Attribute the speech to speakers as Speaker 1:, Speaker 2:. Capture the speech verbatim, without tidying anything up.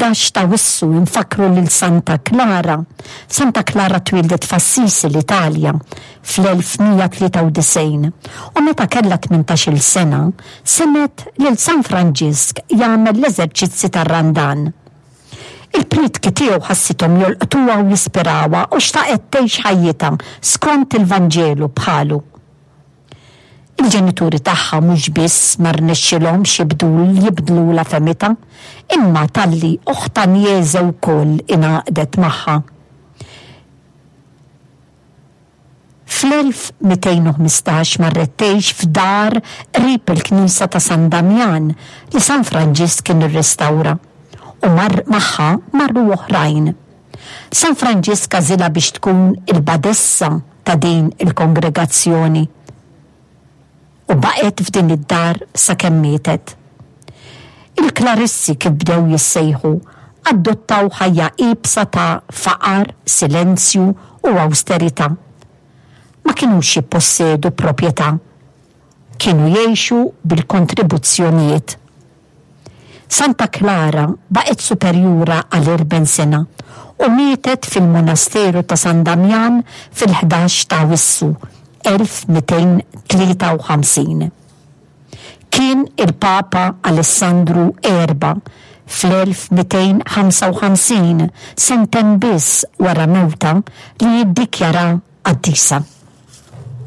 Speaker 1: Fil-ħdax t'Awwissu nfakkru lil Santa Klara. Santa Klara twieldet f'Assisi, l-Italja, fl-elf mija tlieta u disgħin u meta kellha tmintax-il sena semgħet lil San Franġisk jagħmel l-eżerċizzi tar-Randan. Il-prietki tiegħu ħassithom jolqtuha u jispirawha u xtaqet tgħix ħajjitha skont il-Vanġelu bħalu. Il-ġenituri tagħha mhux biss ma rnexxilhomx jibdlulha fehmitha, imma talli oħtha Agnese wkoll ingħaqdet magħha. Fl-elf mitejn u ħmistax marret tgħix f'dar qrib il-knisja ta' San Damjan li San Franġisk kien irrestawra u mar magħha marru oħrajn. San Franġisk għażilha biex tkun il-badessa ta' din il-kongregazzjoni u baqgħet f'din id-dar sakemm mietet. Il-Klarissi kif bdew jissejħu adottaw ħajja iebsa ta' faqar, silenzju u awsterità. Ma kinux jippossedu proprjetà. Kienu jgħixu bil-kontribuzzjonijiet. Santa Klara baqgħet superjura għal erbgħin sena u mietet fil-monasteru ta' San Damjan fil-ħdax ta' Awwissu elf mitejn tlieta u ħamsin. Kien il-Papa Alessandru erba' fl-elf mitejn ħamsa u ħamsin, sentejn biss wara mewta, li jiddikjara qaddisa.